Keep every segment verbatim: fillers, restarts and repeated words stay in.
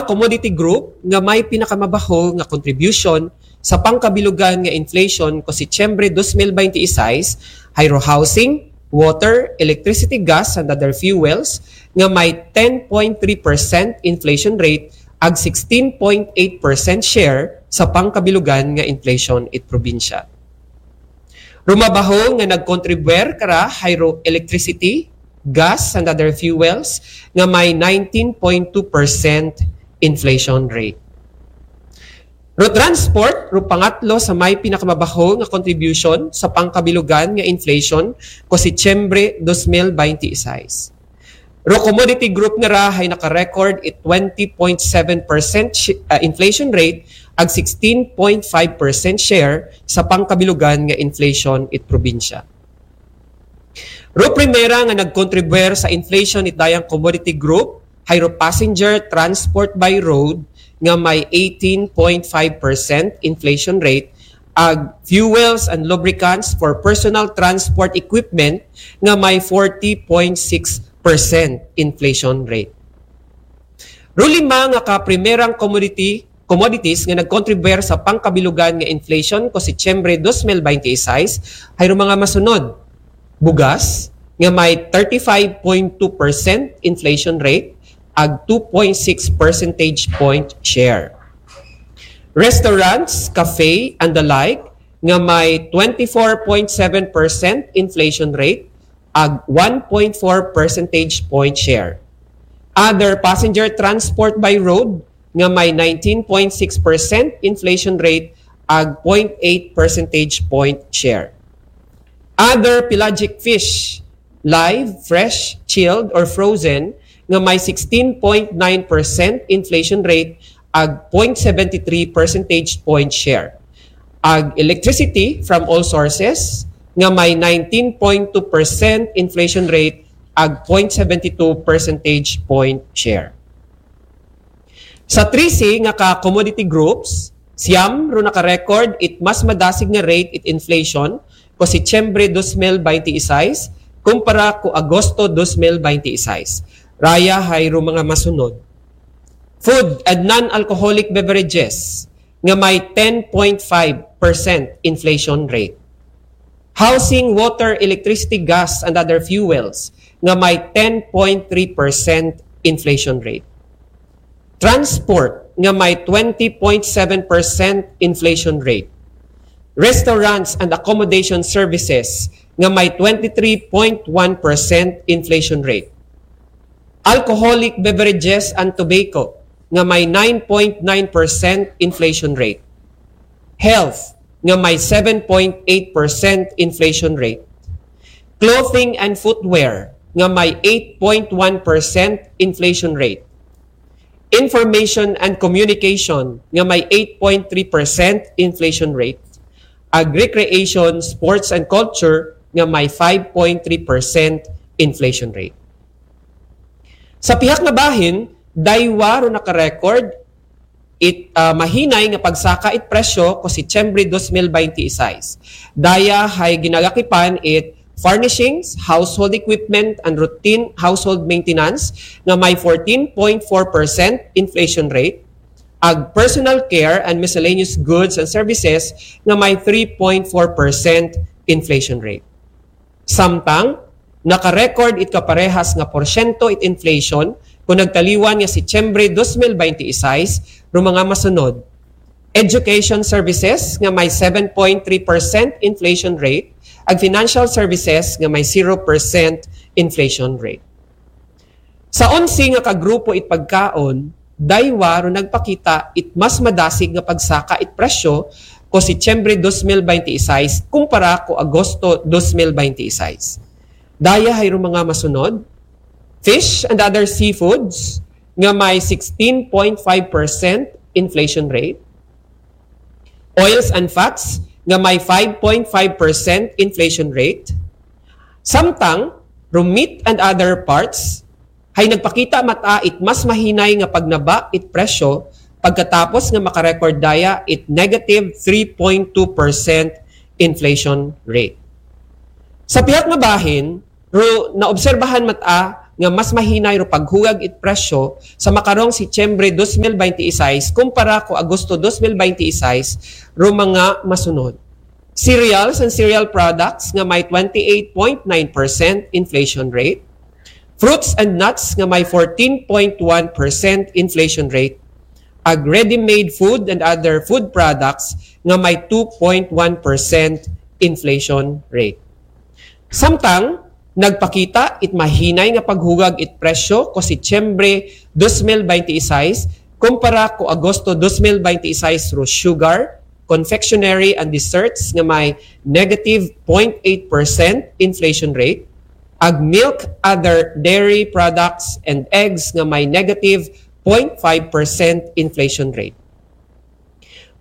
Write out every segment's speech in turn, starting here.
Commodity group nga may pinakamabaho nga contribution sa pangkabilugan nga inflation ko Setyembre dos mil baynte y seis, hayro housing, water, electricity, gas, and other fuels nga may ten point three percent inflation rate ag sixteen point eight percent share sa pangkabilugan nga inflation it probinsya. Rumabaho nga nagkontribwer kara hayro electricity, gas, and other fuels nga may nineteen point two percent inflation rate. Ro transport, ro pangatlo sa may pinakamabaho nga contribution sa pangkabilugan nga inflation ko Setyembre dos mil baynte y seis. Ro commodity group nga ra hay naka-record it twenty point seven percent shi- ah, inflation rate ag sixteen point five percent share sa pangkabilugan nga inflation it probinsya. Ro primera nga nagkontribwer sa inflation it dayang commodity group, hayro passenger transport by road nga may eighteen point five percent inflation rate, ag fuels and lubricants for personal transport equipment nga may forty point six percent inflation rate. Ro lima nga ka primerang commodity, commodities nga nagkontribwer sa pangkabilugan nga inflation ko Setyembre dos mil baynte y seis, hayro mga masunod. Bugas, nga may thirty-five point two percent inflation rate, ag two point six percentage point share. Restaurants, cafe, and the like, nga may twenty-four point seven percent inflation rate, ag one point four percentage point share. Other passenger transport by road, nga may nineteen point six percent inflation rate, ag point eight percentage point share. Other pelagic fish, live, fresh, chilled, or frozen, nga may sixteen point nine percent inflation rate, ag point seventy-three percentage point share. Ag electricity from all sources, nga may nineteen point two percent inflation rate, ag point seventy-two percentage point share. Sa trese nga ka commodity groups, siyam ro naka-record it mas madasig nga rate it inflation ko Setyembre dos mil baynte y seis kumpara ko Agosto dos mil baynte y seis. Raya hayro mga masunod. Food and non-alcoholic beverages nga may ten point five percent inflation rate. Housing, water, electricity, gas, and other fuels nga may ten point three percent inflation rate. Transport nga may twenty point seven percent inflation rate. Restaurants and accommodation services nga may twenty-three point one percent inflation rate. Alcoholic beverages and tobacco nga may nine point nine percent inflation rate. Health nga may seven point eight percent inflation rate. Clothing and footwear nga may eight point one percent inflation rate. Information and communication nga may eight point three percent inflation rate. Ag recreation, sports, and culture nga may five point three percent inflation rate. Sa pihak nga bahin, daywa ro naka-record it ah, mahinay nga pagsaka it presyo ko Setyembre dos mil baynte y seis. Daya hay ginagakipan it furnishings, household equipment, and routine household maintenance nga may fourteen point four percent inflation rate, ag personal care and miscellaneous goods and services nga may three point four percent inflation rate. Samtang, naka-record it kaparehas nga porsyento it inflation kon nagtaliwan nga Setyembre dos mil baynte y seis, ro mga masunod. Education services nga may seven point three percent inflation rate, ag financial services nga may zero percent inflation rate. Sa onse nga ka grupo it pagkaon, daywa ro nagpakita it mas madasig nga pagsaka it presyo ko Setyembre dos mil baynte y seis kumpara ko Agosto dos mil baynte y seis. Daya hayro mga masunod: fish and other seafoods nga may sixteen point five percent inflation rate, oils and fats nga may five point five percent inflation rate, samtang ro meat and other parts hay nagpakita mata it mas mahinay nga pagnaba it presyo pagkatapos nga maka-record daya it negative three point two percent inflation rate. Sa pihak nga bahin, ro naobserbahan mata nga mas mahinay ro paghugag it presyo sa makarong Setyembre dos mil baynte y seis kumpara ko Agosto dos mil baynte y seis ro mga masunod. Cereals and cereal products nga may twenty-eight point nine percent inflation rate, fruits and nuts nga may fourteen point one percent inflation rate, ag ready-made food and other food products nga may two point one percent inflation rate. Samtang nagpakita it mahinay nga paghugag it presyo ko Setyembre dos mil baynte y seis kumpara ko Agosto dos mil baynte y seis ro sugar, confectionery and desserts nga may negative point eight percent inflation rate, ag milk, other dairy products and eggs nga may negative point five percent inflation rate.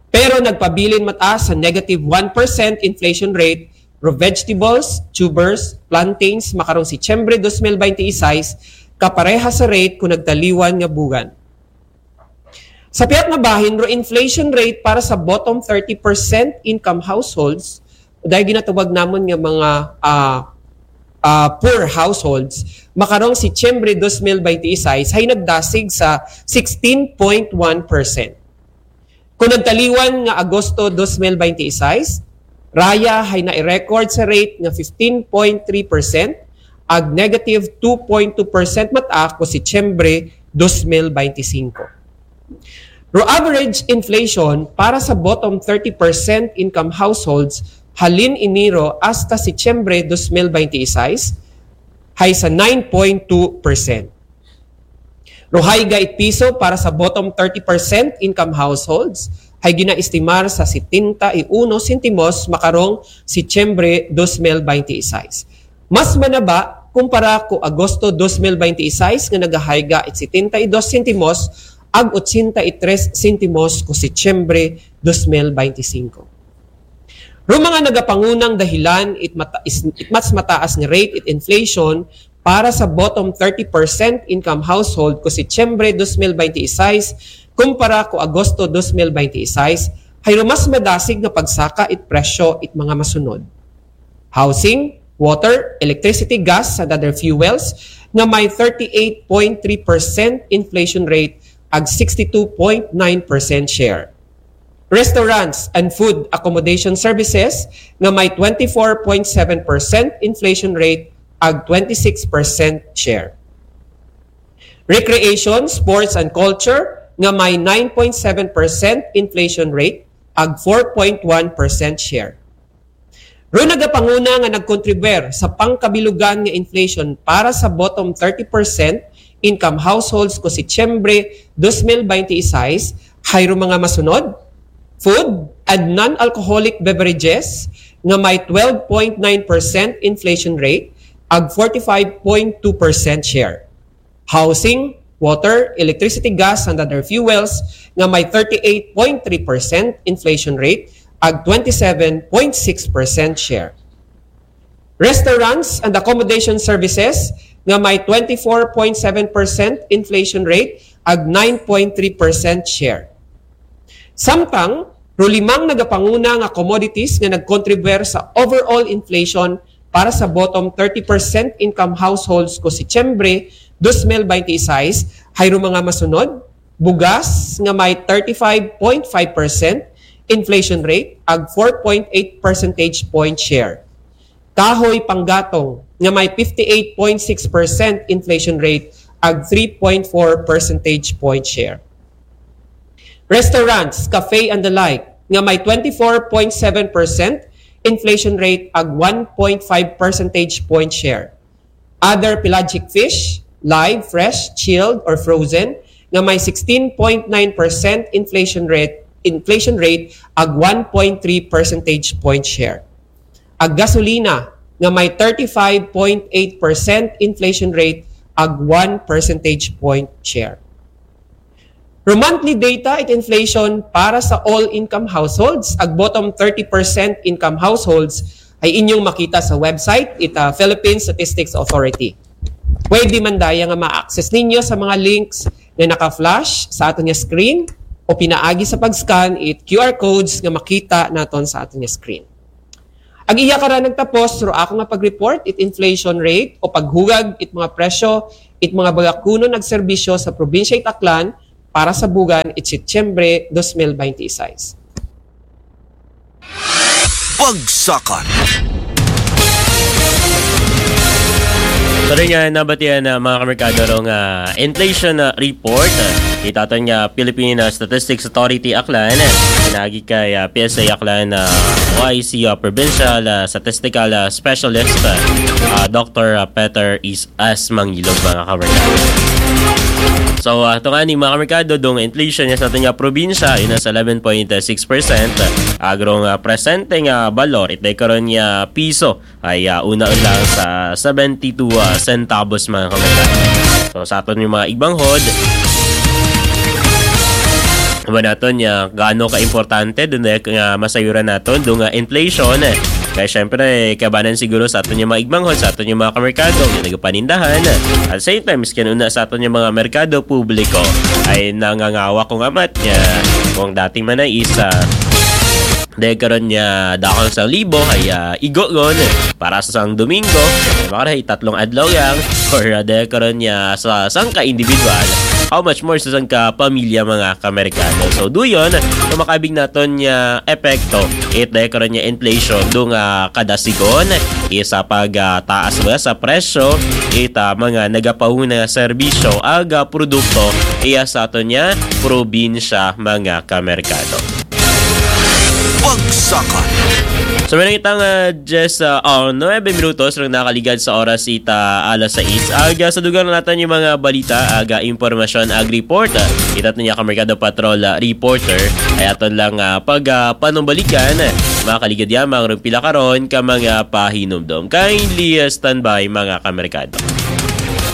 Pero nagpabilin mata sa negative one percent inflation rate ro vegetables, tubers, plantains makarong Setyembre dos mil baynte y seis kapareha sa rate ko nagtaliwan nga bugan. Sa pihak nga bahin ro inflation rate para sa bottom thirty percent income households, dahil ginatawag namon nga mga ah, ah, poor households, makarong Setyembre dos mil baynte y seis hay nagdasig sa sixteen point one percent. Kung nagtaliwan nga Agosto dos mil baynte y seis, raya hay na-record sa rate nga fifteen point three percent, ag negative two point two percent mata ko Setyembre dos mil baynte y singko. Ro average inflation para sa bottom thirty percent income households halin Enero hasta Setyembre dos mil baynte y seis hay sa nine point two percent. Ro hayga it piso para sa bottom thirty percent income households hay ginaestimar sa setenta y uno sentimos makarong Setyembre dos mil baynte y seis. Mas manaba kumpara ko Agosto dos mil baynte y seis nga nagahayga it setenta y dos sentimos ag ochenta y tres sentimos ko Setyembre dos mil baynte y singko. Ro mga nagapangunang dahilan it, mata, is, it mas mataas nga rate it inflation para sa bottom thirty percent income household ko Setyembre dos mil baynte y seis kumpara ko Agosto dos mil baynte y seis hay ro mas madasig nga pagsaka it presyo it mga masunod: housing, water, electricity, gas, and other fuels nga may thirty-eight point three percent inflation rate ag sixty-two point nine percent share. Restaurants and food accommodation services nga may twenty-four point seven percent inflation rate ag twenty-six percent share. Recreation, sports, and culture nga may nine point seven percent inflation rate ag four point one percent share. Ro nagapanguna nga nagkontribuir sa pangkabilugan nga inflation para sa bottom thirty percent income households ko Setyembre dos mil baynte y seis hay ro mga masunod: food and non-alcoholic beverages nga may twelve point nine percent inflation rate ag forty-five point two percent share. Housing, water, electricity, gas, and other fuels nga may thirty-eight point three percent inflation rate ag twenty-seven point six percent share. Restaurants and accommodation services nga may twenty-four point seven percent inflation rate ag nine point three percent share. Samtang ro limang nagapanguna nga commodities nga nagkontribuir sa overall inflation para sa bottom thirty percent income households ko Setyembre dos mil baynte y seis hay ro mga masunod: bugas nga may thirty-five point five percent inflation rate ag four point eight percentage point share. Kahoy panggatong nga may fifty-eight point six percent inflation rate ag three point four percentage point share. Restaurants, cafe, and the like nga may twenty-four point seven percent inflation rate ag one point five percentage point share. Other pelagic fish, live, fresh, chilled, or frozen, nga may sixteen point nine percent inflation rate, inflation rate ag one point three percentage point share. Ag gasolina nga may thirty-five point eight percent inflation rate ag one percentage point share. Ro monthly data it inflation para sa all income households ag bottom thirty percent income households ay inyong makita sa website it, ah, Philippine Statistics Authority. Pwede man daya nga ma-access ninyo sa mga links nga naka-flash sa aton nga screen o pinaagi sa pag-scan it Q R codes nga makita naton sa aton nga screen. Ag iya kara nagtapos ro ako nga pag-report it inflation rate o paghugag it mga presyo It mga bagakuno nagserbisyo sa probinsya it Aklan para sa bugan it Setyembre dos mil baynte seis. Bagsakan. Pero nga nabatian na mga kamerkado rong ah, inflation ah, report ah, it aton nga Philippine ah, Statistics Authority Aklan, ah, pinagi kay ah, P S A Aklan ah, Y C ah, Provincial ah, Statistical ah, Specialist ah, ah, Doctor ah, Peter Is as Mangilog, mga kamerkado. So, uh, ito nga ni mga kamerkado, dong inflation niya sa aton nga probinsya, yun nasa eleven point six percent. Agrong uh, presente nga balor, ito karon nga piso ay uh, una lang sa seventy-two uh, centavos, mga kamerkado. So, sa aton yung mga igbanghod, ba naton nga gaano ka-importante dun eh, nga masayuran naton dong uh, inflation eh. Kaya syempre, kabanan siguro sa aton yung mga igbanghod, sa aton yung mga kamerkado, yung nagpanindahan. At same time, miskin una sa aton yung mga merkado publiko ay nangangawa kung amat niya. Kung dating man ay isa, dahil karon niya dakong sang libo ay uh, igo gon para sa sang Domingo, ay makarahay tatlong adlaw yang or uh, dahil karon niya sa sangka individual, how much more sa sangka pamilya mga kamerkado. So duyon, kung makabig naton niya epekto, it dahil karon niya inflation do nga kadasigon, isa pag uh, taas ba sa presyo, it uh, mga nagapahuna nga serbisyo, aga produkto, iya sa aton niya probinsya mga kamerkado. Bagsakan. So, meron itang uh, just uh, oh, nuebe minutos rong nakaligad sa oras ita alas sais. Aga sa dugang natin yung mga balita, aga impormasyon, ag report. Uh, ita niya kamerkado patrol uh, reporter. Ay aton lang uh, pag uh, panumbalikan. Mga kaligad yan, mga rumpila karon ka mga pahinumdom. Kindly uh, standby mga kamerkado.